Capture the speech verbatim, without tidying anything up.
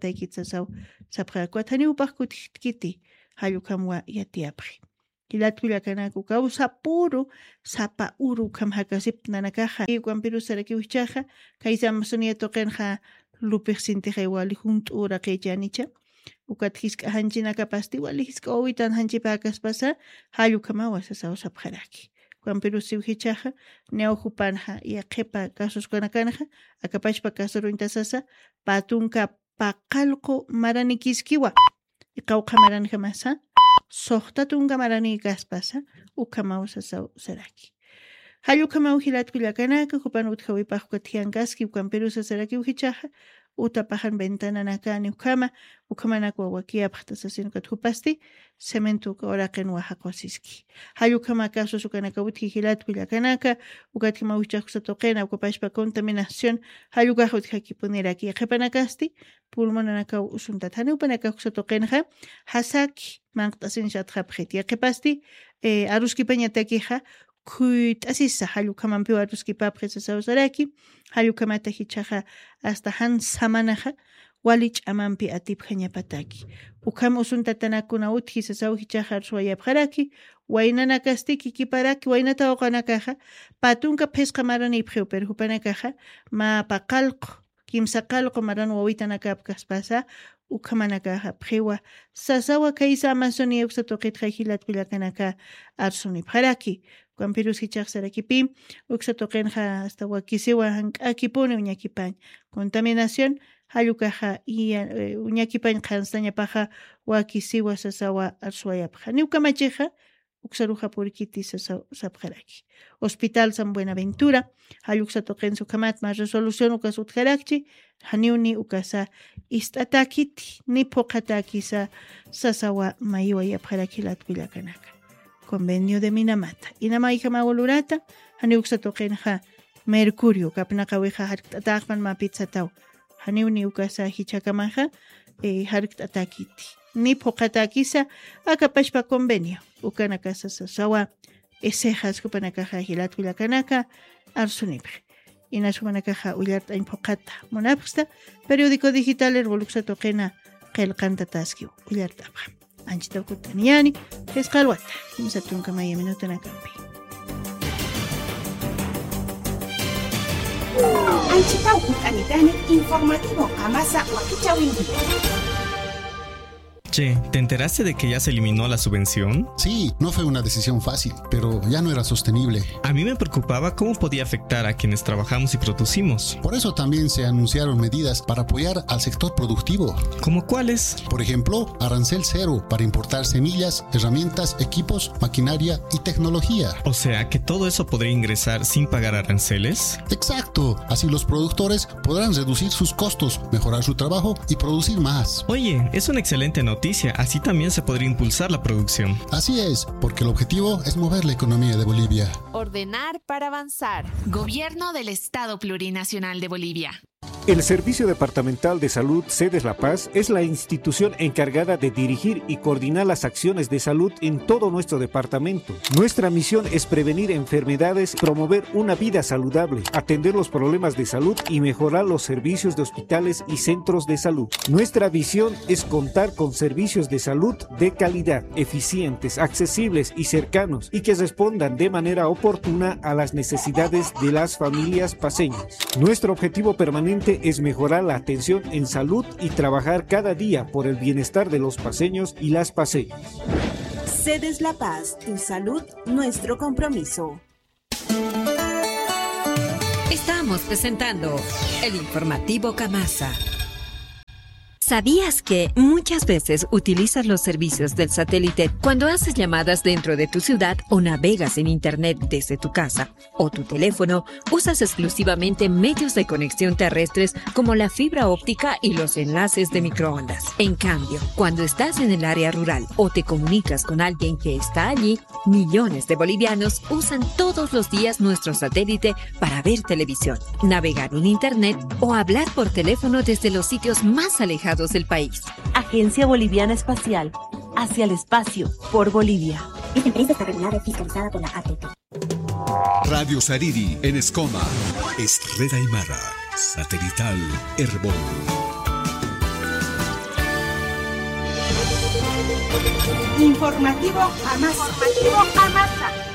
yatiyatäkit sasaw sapxarakwa, thaniw upax kutitkiti, jall ukhamwa yatiyapxi. Jilat kullakanaka, ukaw sapüru, sapa uru ukham jakasipta nanakaxa. Ukampirus sarakiw jichhaxa, kaysa Amazonia tuqinxa lupix sintixay wali junt'u uraqïchänicha. Ukat jisk'a janchinakapasti wali jisk'a wawitan janchipäkaspasa, jall ukhamawa sasaw sapxaraki. Ukampirusiw jichhaxa, niyaw jupanxa, yaqhipa casos ukanakanxa, akapachpa casoruñta sasa, pä tunka paqallqu maranikiskiwa. Iqawqha maranjamasa, suxta tunka maranïkaspasa, ukhamaw sasaw saraki. Jall ukhamaw jilat kullakanaka, jupan utjawipax ukat jiyankaski, ukampirusa sarakiw jichhaxa, utapaxan ventananakani ukhama, ukhamanakwa wakiyapxta sasin ukat jupasti, cemento uka uraqinwa jaqwasiski. Jall ukhama casos ukanaka utji jilat kullakanaka, ukatjamaw jichhax uksa tuqina, ukapachpa contaminación, jall ukax utjakipuniraki, yaqhipanakasti, pulmonanakaw usuntat. Janiw jupanakax uksa tuqinxa, jasaki, manq't'asinsatxapxit. Yaqhipasti, eh, aruskipañatakixa, khuyt'asisa, jall ukhamampiw aruskipapxi sasaw saraki, jall ukhamata jichhaxa, hasta jan samanaxa, wali ch'amampi atipjañapataki. Ukham usuntatanakuna utji sasaw jichhaxa arswayapxaraki, waynanakasti kikiparaki, waynata uqanakaxa, pä tunka phisqa maranïpxiw, pero jupanakaxa, mä paqallqu, kimsa qallqu maran wawitanakapkaspasa, ukhamanakaxa pxiwa, sasawa kaysa Amazonia uksa tuqitxa jilat kullakanaka arsunipxaraki. Ukampirus jichhax sarakipi, uksa tuqinxa hasta wakisiwa jank'akipuni uñakipañ. Contaminación, jall ukaxa iya, eh, uñakipañ qhanstañapaxa wakisiwa sasawa arsuwayapxa. Janiw kamachixa, uksaruxa purikiti sasaw sapxaraki. Hospital San Buenaventura, jall uksa tuqinsa ukhamat mä resolución ukas utjarakchi, janiw ni ukasa ist'atäkiti, ni phuqhatäkisa sasawa mayiwayapxaraki jilat kullakanaka. Convenio de Minamata. Inamayjamaw lurata, janiw uksa tuqinxa mercurio, kapnaqawixa jarkt'atäxpan mä pitsataw. Janiw ni ukasa jichhakamaxa, eh, jarkt'atäkiti. Ni phuqhatäkisa, akapachpa convenio. Ukanakasa sasawa, esexas jupanakaxa jilat kullakanaka, arsunipxi. Inas jupanakaxa ullart'añ phuqhata munapxsta, periódico digital Erbol uksa tuqina qillqantataskiw ullart'apxam. Anchitaw kut'aniyani, phisqa alwata, kimsa tunka maya minutanakampi. Anchitaw kut'anitani, informativo qamasa wakichäwinki. Che, ¿te enteraste de que ya se eliminó la subvención? Sí, no fue una decisión fácil, pero ya no era sostenible. A mí me preocupaba cómo podía afectar a quienes trabajamos y producimos. Por eso también se anunciaron medidas para apoyar al sector productivo. ¿Cómo cuáles? Por ejemplo, arancel cero para importar semillas, herramientas, equipos, maquinaria y tecnología. O sea que todo eso podría ingresar sin pagar aranceles. Exacto, así los productores podrán reducir sus costos, mejorar su trabajo y producir más. Oye, es una excelente noticia, así también se podría impulsar la producción. Así es, porque el objetivo es mover la economía de Bolivia. Ordenar para avanzar. Gobierno del Estado Plurinacional de Bolivia. El Servicio Departamental de Salud Sedes La Paz es la institución encargada de dirigir y coordinar las acciones de salud en todo nuestro departamento. Nuestra misión es prevenir enfermedades, promover una vida saludable, atender los problemas de salud y mejorar los servicios de hospitales y centros de salud. Nuestra visión es contar con servicios de salud de calidad, eficientes, accesibles y cercanos, y que respondan de manera oportuna a las necesidades de las familias paceñas. Nuestro objetivo permanente es mejorar la atención en salud y trabajar cada día por el bienestar de los paceños y las paceñas. Sedes La Paz, tu salud, nuestro compromiso. Estamos presentando el informativo Kamasa. ¿Sabías que muchas veces utilizas los servicios del satélite cuando haces llamadas dentro de tu ciudad o navegas en internet desde tu casa o tu teléfono? Usas exclusivamente medios de conexión terrestres como la fibra óptica y los enlaces de microondas. En cambio, cuando estás en el área rural o te comunicas con alguien que está allí, millones de bolivianos usan todos los días nuestro satélite para ver televisión, navegar en internet o hablar por teléfono desde los sitios más alejados del país. Agencia Boliviana Espacial, hacia el espacio, por Bolivia. Esta empresa está regulada y fiscalizada por la A T P. Radio Sariri en Escoma. Es red aymara, satelital Erbol. Informativo Qamasa. Informativo Qamasa.